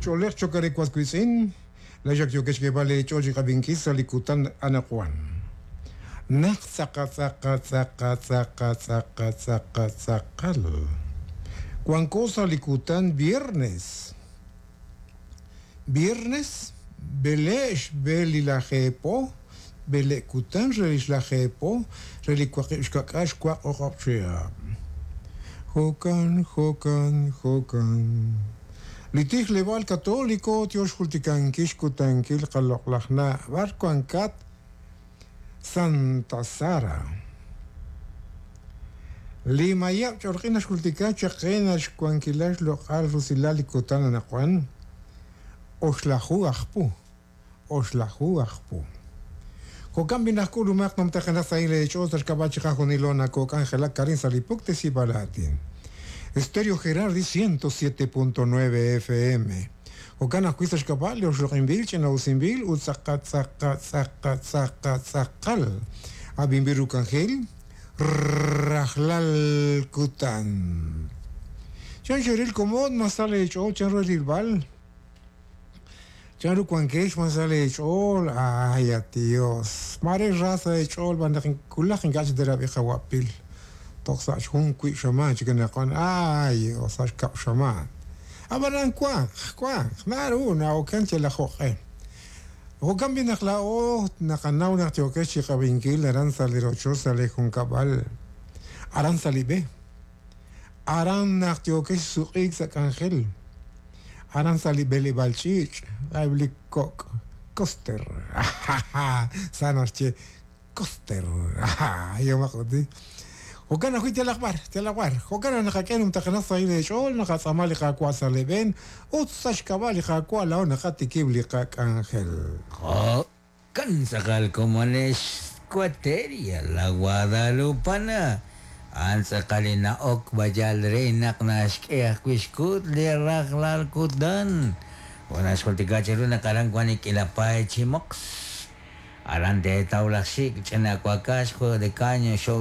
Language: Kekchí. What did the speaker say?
ch'oolej cho'q re was wiitz'in, laa'ex ak yookex xk'eeb'al eech'ool chi qab'inkil sa' li kutan anaqwan. Naq tz'aqa tz'aqa tz'aqa tz'aqa tz'aqa tz'aqa tz'aqal. Wanko sa' li kutan viernes. Viernes b'ele' xb'e li lajeepo, b'ele' kutan re li xlajeepo re li waqib' xka'k'aal xwaq o'q'ob' chihab'. Jo'kan, jo'kan, jo'kan. Li tijleb'aal katoliko tyo xjultikankil xkutankil qaloq'laj na' b'ar wankat Santa Sara. Li mayab' ch'olq'in naxjultika chaq qe naxwankila xloq'al rusilal li kutan anaqwan, oxlaju aj pu, oxlaju aj pu. Jo'kan b'i' naq k'ulumaq numtajenaq sahil eech'ool sa' xk'ab'a' chiqajunilo nakok'anjelak arin sa' li puktesib'aal aatin. Estéreo Gerardi 107.9 FM. Jo'kan ajwi' sa' xk'ab'a' li oxloq'inb'il, ch'ina'usinb'il ut tz'aqa tz'aqa tz'aqa tz'aqa tz'aqal ab'inb'il ru k'anjel rajlal kutan. Chan xeril komon ma sa leech'ool chan ru rilb'al? Chanru wankex ma sa leech'ool? Ay, at Dios. Maare ra sa' eech'ool b'an naq wulaj ink'a' chik teerab'i qawa'pil. Toj sa' xjun wi' xamaan chik anaqwan. Ay, o sa' xkab' xamaan. Ab'anan wanq, wanq, naru na'oken yalaq jo'q'e. Jo'kan b'i' naq laa'o naqanaw naq yookex chi qab'inkil aran sa' li rochoch sa' li junkab'al, aran sa' li b'e. Aran naq yookex suq'iik sa' k'anjel, aran sa' li b'eleb'aal ch'iich', eb' li kok' coaster, sa naxye coaster, yehomaq ut. Jo'kan ajwi' yalaq b'ar, yalaq b'ar. Jo'kan naq naqak'e numtajenaq sahil eech'ool, naqatz'aama li Qaawa' sa' lee b'een, ut sa' xk'ab'a' li Qaawa' laa'o naqatikib' li qak'anjel. Jo'kan tz'aqal komonex Squateria La Guadalupana. A'an tz'aqal li na'ok b'ayal re naq naxk'e ajwi' xkut li rajlal kutan. Jo' naxjultika cheru naq aran wank li k'iila paay chi moqs. Aran teetaw laj xik', ch'ina wakax, juego de caño, show.